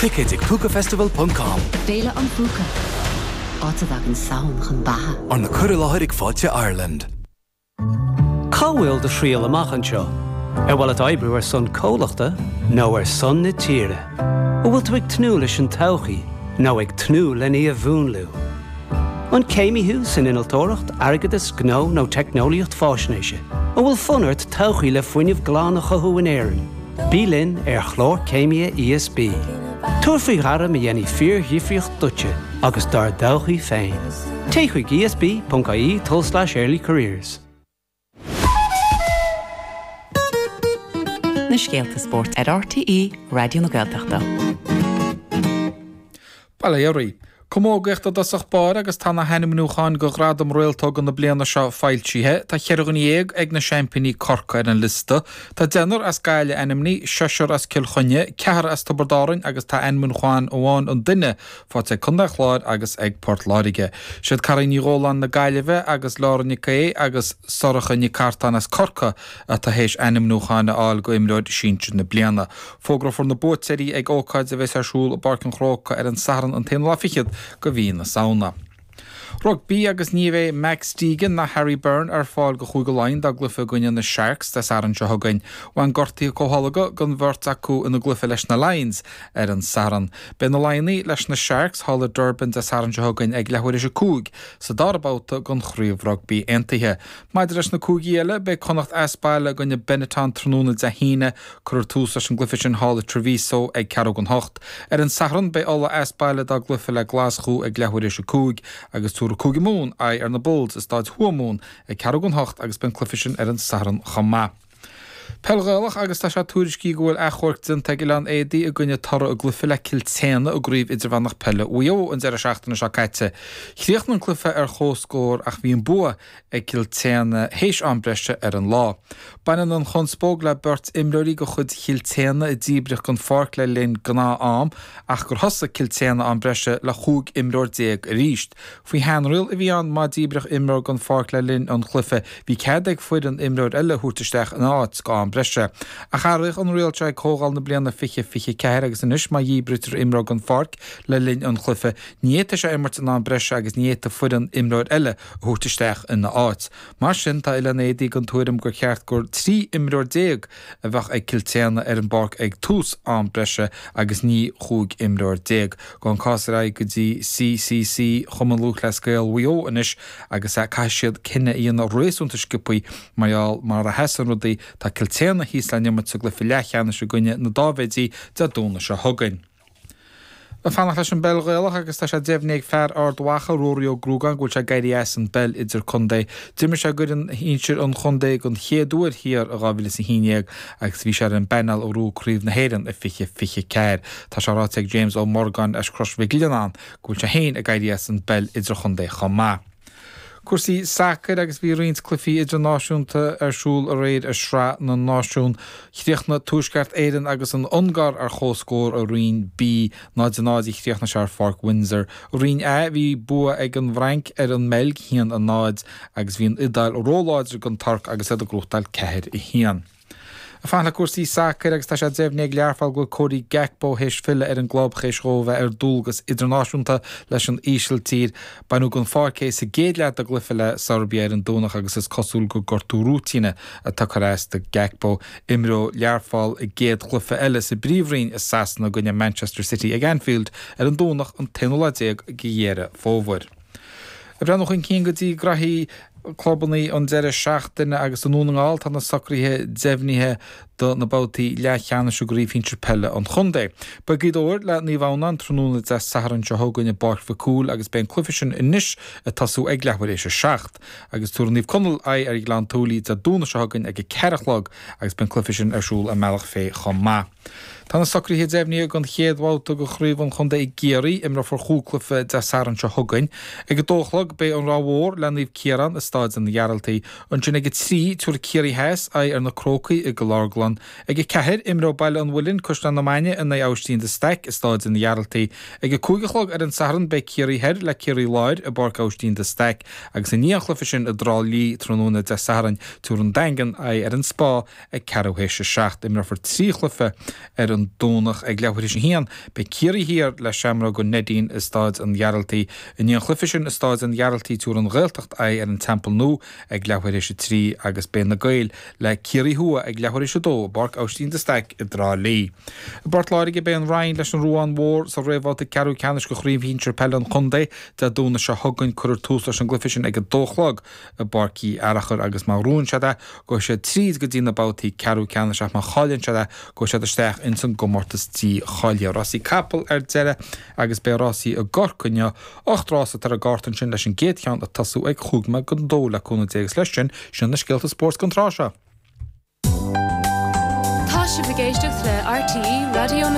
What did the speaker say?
Ticéid ag Púcafestival ponc com. Féile an Phúca, áit a dtagann Samhain chun beatha. Arna cur i láthair ag Fáilte Ireland. Cá bhfuil do thriall amach anseo? Ar mhaith leat oibriú ar son comhlachta nó ar son na tíre? An bhfuil tú ag tnúth leis an todhchaí nó ag tnúth lena í a mhúnlú? An céimí thú san innealtóireacht, airgeadas, gnó nó teicneolaíocht fáisnéise? An bhfuil fonn ort todhchaí le fuinneamh glan a chothú in Éirinn? Bí linn ar Chlár Céimithe ESB. Tabhair faoi ghairm a dhéanfaidh fíordhifríocht duitse agus dár dtodhchaí féin. Téigh chuig esb.ie tulslais earlycareers. Na scéalta spóirt ar RTÉ Raidió na Gaeltachta. Bail ó Dhia oraibh. Camógaíocht i dtosach báire agus tá na hainmniúcháin do Ghradam Réaltóga na bliana seo foilsithe. Tá cheithre dhuine dhéag ag na seaimpíní Corcaigh ar an liosta. Tá deichniúr as Gaillimh ainmnithe, seisear as Cill Chainnigh, ceathrar as Tiobraid Árann agus tá ainmniúchán amháin an duine faighte ag Contae an Chláir agus ag Port Láirge. Siad Cairín Ní Dhóláin na Gaillimhe agus Laura Nic Aodha agus Sorcha Nic Artáin as Corcaigh atá théis ainmniúcháin a fháil go Imreoir Sinsir na Bliana. Fógrófar na buaiteoirí ag ócáid a bheas ar siúl i bPáirc an Chrócaigh ar an Satharn an t-aonú lá fichead go mhí na Samhna. Rugbaí agus ní bheidh Max Deegan ná Harry Byrne ar fáil go Chúige Laighean dá gcluiche i gcoinne na Sharks Dé Sathairn seo chugainn. Bhain gortuithe comhtholgtha don bheirt acu ina gcluiche leis na Lions ar an Satharn. Beidh na Laighnigh leis na Sharks thall i Durban Dé Sathairn seo chugainn ag leathuair théis 5 sa dara babhta den Chraobh Rugbaí Aontaithe. Maidir leis na cúigí eile, beidh Connacht as baile i gcoinne Benetton tráthnóna Dé hAoine. Cuirfear tús leis an gcluiche sin thall i Treviso ag ceathrú don hocht. Ar an Satharn, beidh Ulaidh as baile dá gcluiche le Glaschú ag leathuair théis 5 agus tabharfaidh Cúige Mumhan aghaidh ar na Bulls i Stáid Thuamhumhan ag ceathrú don hocht agus beidh an cluiche sin ar an Satharn chomh maith. Peil Ghaelach agus tá sé tuairiscithe go bhfuil achomharc déanta ag Oileán Éadaí i gcoinne toradh a gcluiche le Cill tSéadhna i gCraobh Idirmheánach Peile Mhaigh Eo an deireadh seachtaine seo caite. Chríochnaigh an cluiche ar chomhscór ach bhí an bua ag Cill tSéadhna théis am breise ar an lá. Baineann an chonspóid le beirt imreoirí de chuid Chill tSéadhna a díbríodh den pháirc le linn gnáth-am ach gur thosaigh Cill tSéadhna am breise le 15 imreoir arís. Faoi sheanriail a bhí ann, má díbríodh imreoir den pháirc le linn an chluiche, bhí cead ag foireann imreoir eile a thabhairt isteach ina áit go am breise. Ach athraíodh an riail seo ag comhdháil na bliana 2024 agus anois má dhíbrítear imreoir den pháirc le linn an chluiche, ní fhéadfaidh sé imirt in am breise agus ní fhéadfaidh foireann imreoir eile a thabhairt isteach ina áit. Mar sin, tá Oileán Éadaí den tuairim gur cheart gur 13 imreoir a bheadh ag Cill tSéadhna ar an bpáirc ag tús am breise agus ní 15 imreoir. Gabhann an cás ar aghaidh go dtí CCC Chumann Lúthchleas Gael Mhaigh Eo anois agus caithfidh siad cinneadh a dhéanamh réasúnta sciobthaí mar gheall mar a sheasann rudaí tá Cill tSéadhna thíos le n-imirt sa gcluiche leathcheannais i gcoinne na Dáibhéidí Dé Domhnaigh seo chugainn. Ag fanacht leis an bpeil Ghaelach agus tá sé deimhnithe ag fear Ard Mhacha, Ruairí Ó Gruagáin, go bhfuil sé ag éirí as an bpeil idirchontae. D'imir sé d'fhoireann shinsir an chontae den chéad uair thiar i 2011 agus bhí sé ar an bpainéal a ghnóthaigh Craobh na hÉireann i 2024. Tá sé ráite ag James Ó Morgáin as Crois Mhic Lionnáin go bhfuil sé féin ag éirí as an bpeil idirchontae chomh maith. Cúrsaí sacair agus bhí roinnt cluichí idirnáisiúnta ar siúl aréir i Sraith na Náisiún. Chríochnaigh Tuaisceart Éireann agus an Ungáir ar comhscór i Roinn B, 0-0 a chríochnaigh sé ar Pháirc Windsor. I Roinn A bhí bua ag an bhFrainc ar an mBeilg, 1-0, agus bhí an Iodáil róláidir don Tuirc agus iad ag gnóthachtáil 4-1. Ag fanacht le cúrsaí sacair agus tá sé deimhnithe ag Learpholl go bhfuil Cody Gakpo théis filleadh ar an gclub théis dhó bheith ar dualgas idirnáisiúnta leis an Ísiltír. Baineadh den pháirc é sa gcéad leath de gcluiche le Seirbia ar an Domhnach agus is cosúil gur gortú rúitíne atá ag cur as do Gakpo. Imreoidh Learpholl a gcéad chluiche eile sa bPríomhroinn i Sasana i gcoinne Manchester City ag Anfield ar an Domhnach an t-aonú lá déag de Dheireadh Fómhair. Ag breathnú chun cinn go dtí graithí clubanna an deireadh seachtaine agus i nDún na nGall tá na socruithe deimhnithe do na babhtaí leathcheannais i gCraobh Shinsir Peile an Chontae. Beidh Gaoth Dobhair le Naomh Adhamhnáin tráthnóna Dé Sathairn seo chugainn i bPáirc Mhic Cumhaill agus beidh an cluiche sin anois ag tosú ag leathuair théis a 7 agus tabharfaidh Naomh Conaill aghaidh ar Ghleann tSúilí Dé Domhnaigh seo chugainn ag a 4 a chlog agus beidh an cluiche sin ar siúl i mBealach Féich chomh maith. Tá na socruithe deimhnithe don chéad bhabhta de Chraobh an Chontae i gCiarraí. Imreofar chúig chluiche Dé Sathairn seo chugainn. Ag a dó a chlog beidh an Ráth Mhór le Naomh Ciarán i Stáid an Ghearaltaigh. Ansin ag a 3, tabharfaidh Ciarraí Theas aghaidh ar na Crócaigh i gCill Orglan. Chaisleán. Ag 4, imreoidh Baile an Mhuilinn, Caisleán na Mainge in aghaidh Aibhistín de Staic i Stáid an Ghearaltaigh. Ag 5 a chlog ar an Satharn beidh Ciarraí Thoir le Ciarraí Láir i bPáirc Aibhistín de Staic agus i ndiaidh an chluiche sin i dTrá Lí tráthnóna Dé Sathairn tabharfaidh an Daingean aghaidh ar an Spá ag ceathrú théis a 7. Imreofar 3 chluiche ar an Domhnach ag leathuair théis a haon. Beidh Ciarraí Thiar le Seamróga Neidín i Stáid an Ghearaltaigh. I ndiaidh an chluiche sin i Stáid an Ghearaltaigh tabharfaidh an Ghaeltacht aghaidh ar an Teampall Nua ag leathuair théis a 3 agus beidh na Gaeil le Ciarraí Thuaidh ag leathuair théis a 2 i bPáirc Aibhistín de Staic i dTrá Lí. I bPort Láirge beidh an Rinn leis an Ruán Mhór sa réamhbhabhta ceathrú ceannais de Chraobh Shinsir Peile an Chontae Dé Domhnaigh seo chugainn. Cuirfear tús leis an gcluiche sin ag a dó a chlog i bPáirc Uí Fhearachair agus má ghnóthaíonn siad é gabhfaidh siad tríd go dtí na babhtaí ceathrú ceannais ach má chailleann siad é gabhfaidh siad isteach ins an gcomórtas dícháilithe. Rásaí capall ar deireadh agus beidh rásaí i gCorcaigh inniu. 8 rás atá ar an gcárta ansin leis an gcéad cheann ag tosú ag chúig nóiméad don dó le cúnamh Dé agus leis sin, sin na scéalta spóirt don tráth seo. Tá sibh ag éisteacht le RTÉ Raidió na.